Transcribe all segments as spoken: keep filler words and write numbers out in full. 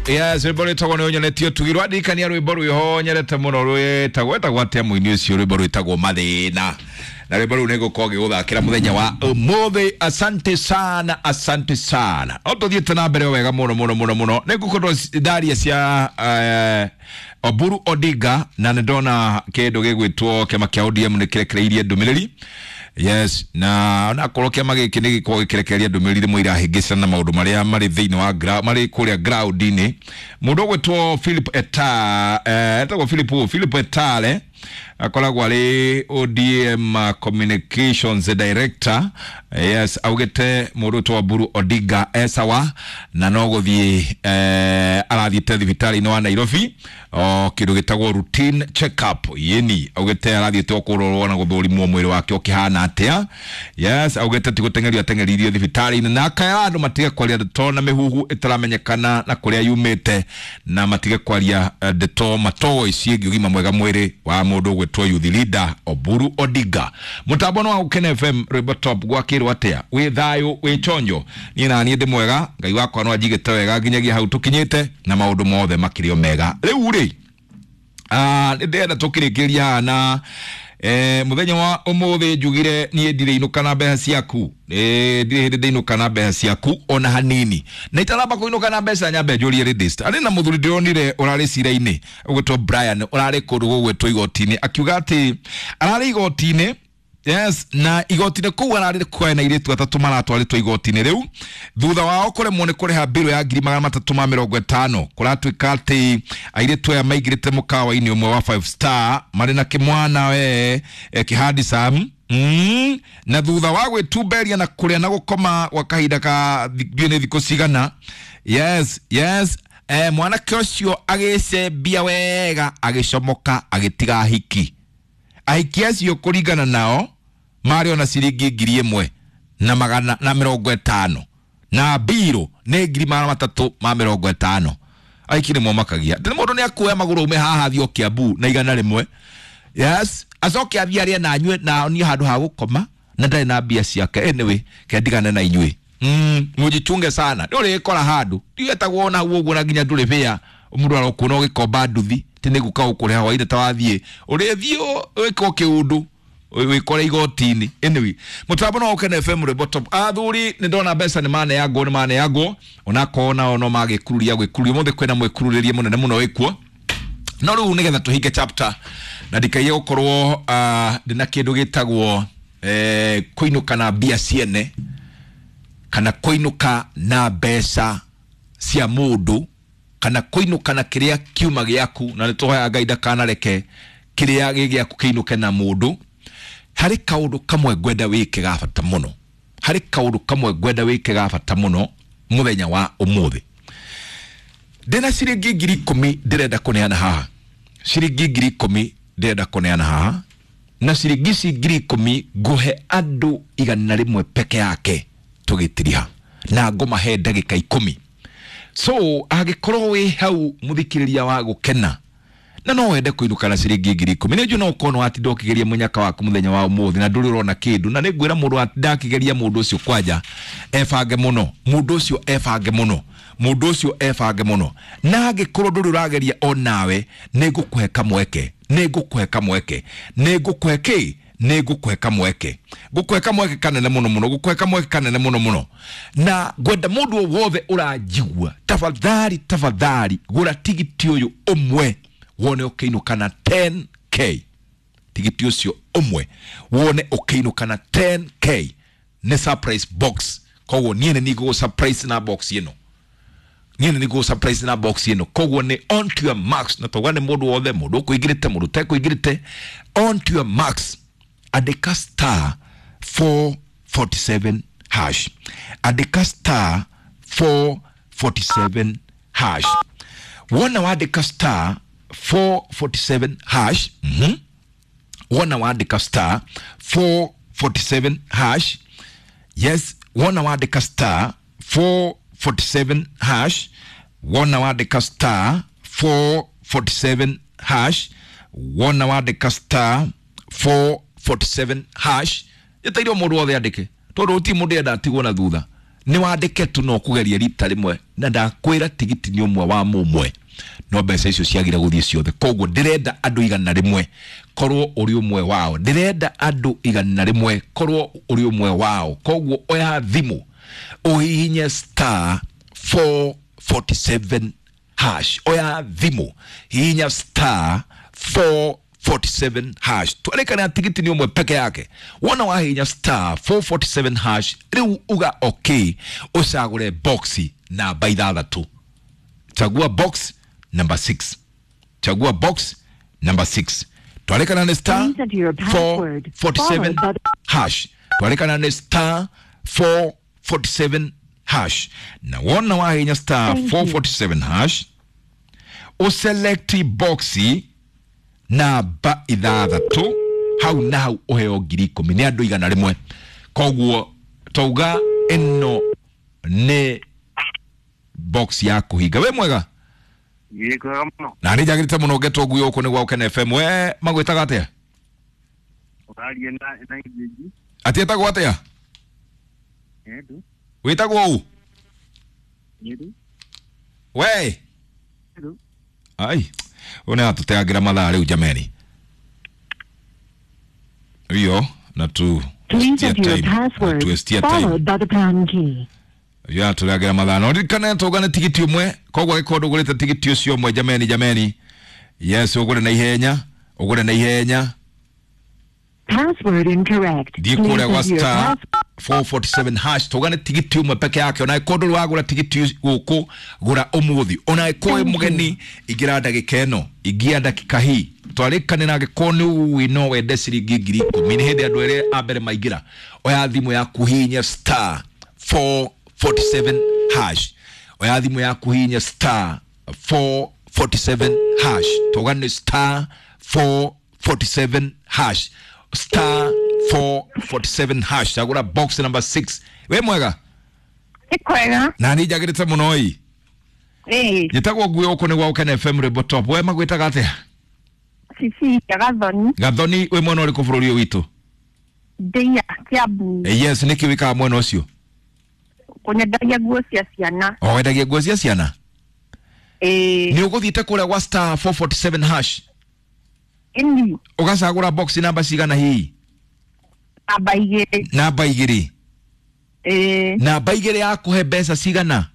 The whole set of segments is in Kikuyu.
Yes, rwĩmbo rwĩtagwo nĩ ũnyonetie ũtugi. Rwandirikania rwĩmbo rwĩho nyendete mũno rwĩtagwo wetagwo atĩa mũini ũcio? Rwĩmbo rwĩtagwo Mathĩna, na rwĩmbo rũu nĩngũkorwo ngĩgũthakĩra mũthenya wa ũmũthĩ. Asante sana, asante sana. No tũthiĩte na mbere o wega mũno mũno mũno mũno. Nĩngũkorwo ndaria cia eh, Oburu Odinga, na nĩ ndona kĩndũ gĩgwĩtwo kĩama kĩa O D M nĩ kĩrekereirie ndũmĩrĩri. Yes, na onakorwo kĩama gĩkĩ nĩ gĩkoragwo gĩkĩrekereria ndũmĩrĩri rĩmwe irahĩngĩcana na maũndũ marĩa marĩ thĩinĩ wa gra- marĩ kũrĩa ground-inĩ. Mũndũ ũgwĩtwo Philip Eta, eh, etagwo Philip ũũ, Philip Etale, akoragwo arĩ O D M uh, communications director. Yes, augĩte mũndũ ũtwo Oburu Odinga esawa na no gũthiĩ eh, arathiĩte thibitarĩ-inĩ wa Nairobi o kĩndũ gĩtagwo routine check up. Yeni augĩte arathiĩte o kũrorwo na gũthũrimwo mwĩrĩ wake ũkĩhana atĩa. Yes, augĩte ti gũteng'erio ateng'eririo thibitarĩ-inĩ, na akaya andũ matige kwaria ndeto na mĩhuhu ĩtaramenyekana na kũrĩa yumĩte, na matige kwaria eh, ndeto matoĩ ciĩgiĩ ũgima mwega mwĩrĩ wa mũndũ ũgwĩtwo youth leader Oburu Odinga. Mũtambo nĩ wa Gũkena F M, rwĩmbo top. Gwakĩrwo atĩa? Wĩ thayũ, wĩ chonjo? Niĩ na niĩ ndĩ mwega, Ngai wakwa no anjigĩte wega nginyagia hau tũkinyĩte, na maũndũ mothe makĩrĩ o mega. Rĩu rĩ, ah, nĩ ndĩrenda tũkĩrĩkĩria haha na eh, mũthenya wa ũmũthĩ njugire niĩ ndirĩ inũka na mbeca ciaku. Eh, ndirĩ hĩndĩ ndĩinũka na mbeca ciaku ona hanini, na itanamba kũinũka na mbeca nyambe njũrie ladies. Arĩ na mũthuri ndĩronire ũrarĩ cira-inĩ ũgwĩtwo Brian, ũrarĩ kũndũ gũgwĩtwo igoti-inĩ, akiuga atĩ ararĩ igoti-inĩ. Yes, na igoti-inĩ kũu ararĩ kwena airĩtu atatũ maratwarĩtwo igoti-inĩ rĩu thutha wao kũremwo nĩ kũrĩha mbirũ ya ngiri magana matatũ ma mĩrongo ĩtano. Kũratuĩka atĩ airĩtu aya maingĩrĩte mũkawa-inĩ ũmwe wa five star marĩ na kĩmwana we eh, kĩhandicam. Mm, na thutha wa gwĩtumberia na kũrĩa na gũkoma gwa kahinda ka ndiũĩ nĩ thikũ cigana. Yes, yes, eh, mwanake ũcio agĩcembia wega, agĩcomoka, agĩtiga ahiki. Ahiki acio kũringana nao marĩ ona ciringi ngiri ĩmwe na magana na mĩrongo ĩtano, na mbirũ nĩ ngiri magana matatũ ma mĩrongo ĩtano. Ahiki nĩ momakagia atĩ mũndũ nĩ akuoya magũrũ aume haha athiĩ o Kiambu na igana rĩmwe. Yes, acoke athiĩ arĩe na anyue na onie handũ ha gũkoma na ndarĩ na mbia ciake. Anyway, kendigane na inyuĩ. mm, mujichunge sana, nĩ ũrĩkora handũ ndigetagwo ona hau ũguo na nginya ndũrĩ bĩa mũndũ arokuona ũgĩkomba nduthi ti nĩ guka gũkũrĩha hwainĩ ta wathiĩ ũrĩthiĩ wĩkwo kĩũndũ wĩkore igoti-inĩ. Anyway, mũtambo no Ũkene F M, rwĩmbo top. Athuri, nĩ ndona mbeca nĩ maneangwo, nĩ maneangwo, onakorwo nao no magĩkururia gwĩkururia. Ũmũthĩ kwĩna mwĩkururĩrie mũnene mũno wĩkuo. No rĩu nĩgetha tũhinge chapter na ndikaiye gũkorwo uh, ndĩna kĩndũ gĩtagwo eh, kũinũka na mbia ciene kana kũinũka na mbeca cia mũndũ kana kũinũka na kĩrĩa kiuma gĩaku, na nĩ tũhoyaga Ngai ndakanareke kĩrĩa gĩ gĩaku kĩinũke na mũndũ. Harĩ kaũndũ kamwe ngwenda wĩke ga bata mũno, harĩ kaũndũ kamwe ngwenda wĩke ga bata mũno mũthenya wa ũmũthĩ. Ndĩna ciringi ngiri ikũmi ndĩrenda kũneana haha, ciringi ngiri ikũmi ndĩrenda kũneana haha, na ciringi ici ngiri ikũmi ngũhe andũ igana rĩmwe peke yake tũgĩtiriha, na ngũmahe ndagĩka ikũmi. So angĩkorwo wĩ hau mũthikĩrĩria wa Gũkena na no wende kũinũka na ciringi ngiri ikũmi, nĩ njũ no ũkorwo watinda ũkĩgeria mũnyaka waku mũthenya wa ũmũthĩ na ndũrĩ ũrona kĩndũ. Na nĩ ngwĩra mũndũ watinda akĩgeria, mũndũ ũcio kwanja ebange mũno, mũndũ ũcio ebange mũno, mũndũ ũcio ebange mũno. Na angĩkorwo ndũrĩ ũrageria o nawe, nĩ ngũkũhe kamweke, nĩ ngũkũhe kamweke, nĩ ngũkũhe kĩ, nĩ ngũkũhe kamweke, ngũkũhe kamweke kanene mũno mũno, ngũkũhe kamweke kanene mũno mũno. Na ngwenda mũndũ o wothe ũranjigua, tafadhali, tafadhali, gũra tigiti ũyũ ũmwe wone ũkĩinũka na ten k. Tigiti ũcio ũmwe wone ũkĩinũka na ten k, nĩ surprise box. Koguo niĩ nĩ ningũgũ surprise na box ĩno, niĩ nĩ ningũgũ surprise na box ĩno. Koguo nĩ on to your marks, na tauga nĩ mũndũ wothe, mũndũ ũkũingĩrĩte, mũndũ ũtekũingĩrĩte, on to your marks, andĩka star four forty-seven hash, andĩka star four forty-seven hash. Wona wandĩka star four forty-seven hash, mm-hmm. Wona wandĩka star four forty-seven hash. Yes, wona wandĩka star four forty-seven hash, wona wandĩka star four forty-seven hash, wona wandĩka star four forty-seven hash. Ĩtaire mũndũ wothe andĩke tondũ gũtirĩ mũndũ enda atigwo na thutha. Nĩ wandĩke tu no kũgeria rita rĩmwe na ndakwĩra tigiti nĩ ũmwe wa mũmwe no mbeca icio ciagire gũthiĩ ciothe. Koguo ndĩrenda andũ igana rĩmwe korwo ũrĩ ũmwe wao, ndĩrenda andũ igana rĩmwe korwo ũrĩ ũmwe wao. Koguo oya thimũ ũhihinye star four forty-seven hash, oya thimũ hihinya star four forty-seven hash. Twarĩkana tigiti nĩ ũmwe peke yake. Wona wahihinya star four forty-seven hash rĩu uga okay, ũcagũre box namba ithathatũ. Chagua box number six. Chagua box number six. Twarĩkana nĩ star four forty-seven hash. Twarĩkana nĩ star four forty-seven hash. Na wona wahihinya star four forty-seven hash uselect box namba ithathatũ hau na hau ũheo ngiri ikũmi nĩ andũ igana rĩmwe. Koguo tauga ĩno nĩ box ya kũhinga. We mwega? Na nĩ njagĩrĩte mũno ngetwo ngui gũkũ nĩ gwa Ũkene F M. We magwĩtaga atĩa? Atĩ etagwo atĩa? Wĩtagwo ũ? We ai una tuteagira mathaa riu jameni iyo na tu ya tureagira mathaa no ririkane tugane tigiti umwe. Koguo agĩkorwo ndũgũrĩte tigiti ũcio ũmwe jameni jameni, yes, ũgũre na ihenya, ũgũre na ihenya. Password incorrect. Thiĩ kũrĩa gwa star four forty-seven hash tugane tigiti umwe peke yake. Ona ĩkorwo ndũrĩ wagũra tigiti gũkũ gũra ũmũthĩ. Ona ĩkorwo wĩ mũgeni ingĩra ndagĩka ĩno, ingia ndagĩka hii twarĩkane na angĩkorwo nĩ ũĩ no wende ciringi ngiri ikũmi. Nĩ hĩndĩ andũ erĩ a mbere maingĩra. Oya thimũ yaku hihinya star four forty-seven hash. Oya thimũ yaku hihinya star four forty-seven hash. Tugane star four forty-seven hash. Star four forty-seven hash. Chagura box number six. We mwega? Nĩ kwega. Na nĩ njagĩrĩte mũno ĩ. Ĩĩ. Njĩtagwo ngui gũkũ nĩ gwa Ũkene F M Rwĩmbo Top. We magwĩtaga atĩa? Cecilia Gathoni. Gathoni wĩ mwena ũrĩkũ bũrũri ũyũ witũ? Ndĩia Kiambu. Yes, nĩkĩ wĩkaga mwena ũcio? Kũnyendagia nguo cia ciana. O wendagia nguo cia ciana? Ĩĩ. Nĩ ũgũthiĩte kũrĩa gwa star four forty-seven hash? Ĩni. Ũgacagũra box namba cigana hihi? Namba igĩrĩ. Namba igĩrĩ. Ĩĩ. Namba igĩrĩ yakũhe mbeca cigana?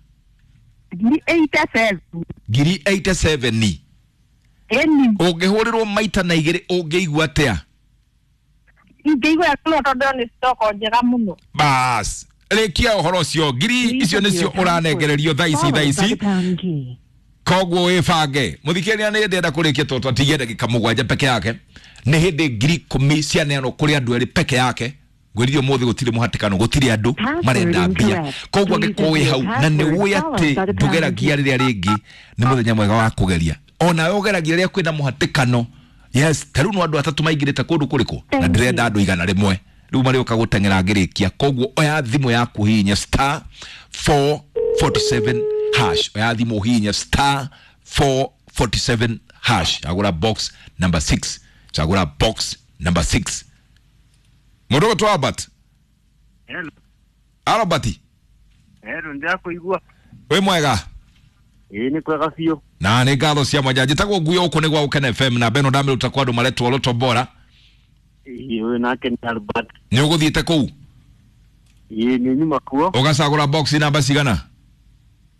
Ngiri eighty-seven. Ngiri eighty-seven. Ĩni. Ũngĩhũrĩrwo maita na igĩrĩ ũngĩigua atĩa? Ingĩigua mũno tondũ nĩ stoko njega mũno. Bas, rĩkia ũhoro ũcio. Ngiri icio nĩcio ũranengererio thaa ici thaa ici. Koguo wĩbange. Mũthikĩrĩria nĩ ndĩrenda kũrĩkia tondũ twatigia ndagĩka mũgwanja peke yake. Nĩ hĩndĩ ngiri ikũmi cianeanwo kũrĩ andũ erĩ peke yake. Ngwĩrire ũmũthĩ gũtirĩ mũhatĩkano, gũtirĩ andũ marenda mbia. Koguo angĩkorwo wĩ hau na nĩ ũĩ atĩ ndũgeragia rĩrĩa rĩngĩ, nĩ mũthenya mwega wa kũgeria. Ona we ũgeragia rĩrĩa kwĩna mũhatĩkano. Yes, ta rĩu no andũ atatũ maingĩrĩte kũndũ kũrĩkũ na ndĩrenda andũ igana rĩmwe. Rĩu marĩũka gũteng'era ngĩrĩkia. Koguo oya thimũ yaku hihinya star four forty-seven hash. Oya thimũ hihinya star four forty-seven hash. Chagũra box number six. Chagũra box number six. Mũndũ ũgwĩtwo Albert. Hello. Albert. Hello, ndĩrakũigua. Wĩ mwega? Ĩĩ nĩ kwega biũ. Na nĩ ngatho cia mwanya. Njĩtagwo ngui gũkũ nĩ gwa Ũkene F M na Beno ndamĩruta kwa andũ maretwo Lotto Bora. Ĩĩ ũyũ nake nĩ Albert. Nĩ ũgũthiĩte kũu? Ĩĩ nĩ nyuma kuo. Ũgacagũra box namba cigana?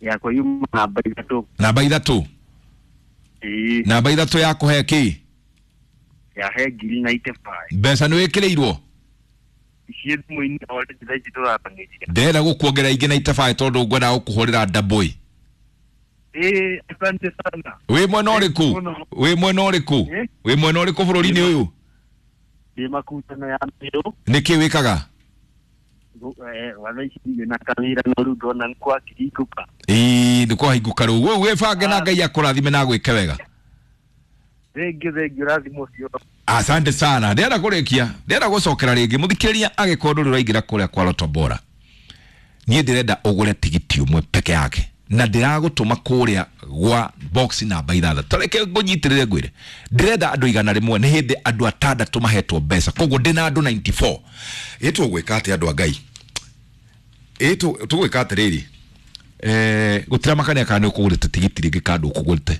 Yakwa yuma namba ithatũ. Namba ithatũ? Ĩĩ. Namba ithatũ yakũhe kĩ? Yahe ngiri ninety-five. Mbeca nĩ wĩkĩrĩirwo? Ici thimũ-inĩ already thaa ici tũraranĩria. Ndĩrenda gũkuongerera ingĩ ninety-five tondũ ngwendaga gũkũhũrĩra double. Ĩĩ, asante sana. Wĩ mwena ũrĩkũ? Wĩ mwena ũrĩkũ? Wĩ mwena ũrĩkũ bũrũri-inĩ ũyũ? Ndĩ Makutano ya Meru. Nĩkĩ wĩkaga? Watha ici ndirĩ na kawĩra no rĩu ndona nĩ kwakĩhingũka. Ĩĩ nĩ kwahingũka rĩu. Wĩ wĩbange na Ngai akũrathime na agwĩke wega. Thengiũ thengiũ ũrathimwo ũcio. Asante sana. Ndĩrenda kũrĩkia, ndĩrenda gũcokera rĩngĩ. Mũthikĩrĩria agĩkorwo ndũrĩ ũraingĩra kũrĩa kwa Lotto Bora, niĩ ndĩrenda ũgũre tigiti ũmwe peke yake na ndĩragũtũma kũrĩa gwa box namba ithathatũ. Ta reke ngũnyitĩrĩre ngwĩre, ndĩrenda andũ igana rĩmwe, nĩ hĩndĩ andũ atandatũ mahetwo mbeca, koguo ndĩna andũ ninety-four. Ĩ tũgwĩka atĩa andũ a Ngai? Ĩ tũgwĩka atĩrĩrĩ, eh gũtiramakania kana nĩ ũkũgũrĩte tigiti rĩngĩ kana ndũkũgũrĩte.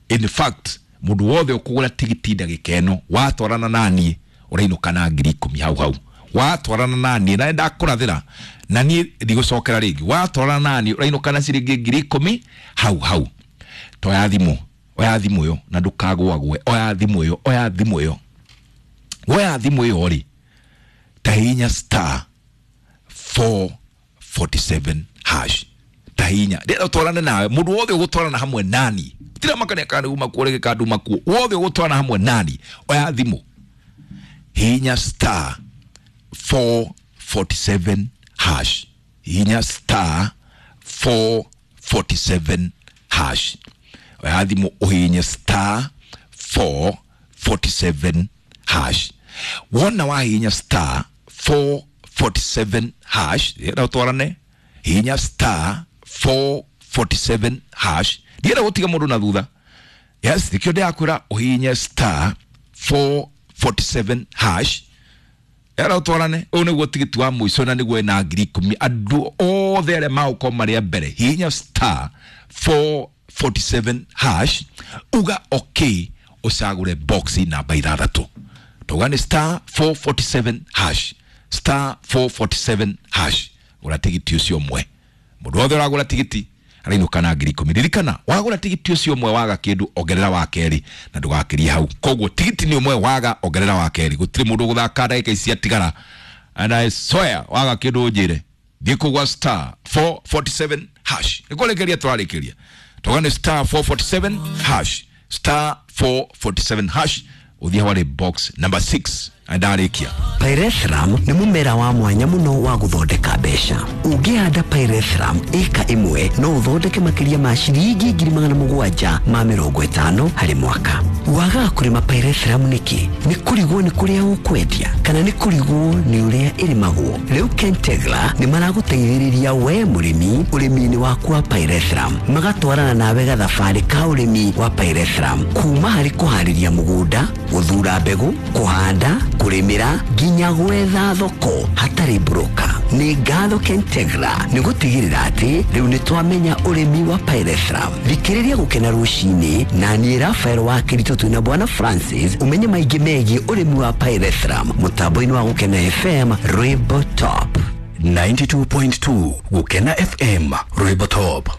In fact, mũndũ wothe ũkũgũra tigiti ndagĩka ĩno watwarana naniĩ ũrainũka na ngiri ikũmi hau hau. Watwarana naniĩ na nĩndakũrathĩra na niĩ ndigũcokera rĩngĩ, watwarana naniĩ ũrainũka na ciringi ngiri ikũmi hau hau. Toya thimũ, oya thimũ ĩyo na ndũkagũagũe, oya thimũ ĩyo, oya thimũ ĩyo, woya thimũ ĩyo rĩ, tahinya star four forty-seven hash, tahinya ndĩrenda ũtwarane nawe, mũndũ wothe ũgũtwarana hamwe nani, tiramakania kana uma kuo rĩngĩ kana nduma kuo, wothe ũgũtwarana hamwe nani, oya thimũ, hinya star four forty-seven hash, hinya star four forty-seven hash, oya thimũ ũhinye star four forty-seven hash. Wona wahinya star four forty-seven hash, ndĩrenda ũtwarane, hinya star four forty-seven hash, ndĩrenda gũtiga mũndũ na thutha. Yes, nĩkĩo ndĩrakwĩra ũhinye star four forty-seven hash, era ũtwarane. Ũyũ nĩguo tigiti wa mũico na nĩguo wĩna ngiri ikũmi. Andũ othe arĩa magũkorwo marĩ a mbere, hihinya star four forty-seven hash, uga okay, ũcagũre box namba ithathatũ. Tauga nĩ star four forty-seven hash, star four forty-seven hash, gũra tigiti ũcio ũmwe. Mũndũ wothe ũragũra tigiti arainũka na ngiri ikũmi. Ririkana, wagũra tigiti ũcio ũmwe waga kĩndũ, ongerera wa kerĩ na ndũgakĩrie hau. Koguo tigiti nĩ ũmwe waga, ongerera wa kerĩ. Gũtirĩ mũndũ ũgũthaka ndagĩka ici ciatigara. And I swear, waga kĩndũ ũnjĩre. Thiĩ kũgwa star four forty-seven hash. Nĩ kũrĩkĩria tũrarĩkĩria. Tauga nĩ star four forty-seven hash, star four forty-seven hash, ũthiĩ harĩ box number six. Ndarĩkia. Pyrethrum nĩ mũmera wa mwanya mũno wa gũthondeka mbeca. Ũngĩhanda Pyrethrum ĩka ĩmwe no ũthondeke makĩria ma ciringi ngiri magana mũgwanja ma mĩrongo ĩtano harĩ mwaka. Wagaga kũrĩma Pyrethrum nĩkĩ? Nĩ kũrigwo nĩ kũrĩa ũkwendia kana nĩ kũrigwo nĩ ũrĩa ĩrĩmagwo? Rĩu Kentegra nĩ maragũteithĩrĩria we mũrĩmi ũrĩmi-inĩ waku wa Pyrethrum, magatwarana nawe gathabarĩ ka ũrĩmi wa Pyrethrum, kuma harĩ kũharĩria mũgũnda, gũthura mbegũ, kũhanda, kũrĩmĩra nginya gwetha thoko hatarĩ broker. Nĩ ngatho Kentegra nĩ gũtigĩrĩra atĩ rĩu nĩ twamenya ũrĩmi wa Pyrethrum. Thikĩrĩria Gũkena rũcinĩ na niĩ Rafael wa Kĩritũ twĩna Bwana Francis ũmenye maingĩ megiĩ ũrĩmi wa Pyrethrum mũtambo-inĩ wa Gũkena F M Rwĩmbo Top ninety-two point two Gũkena F M Rwĩmbo Top.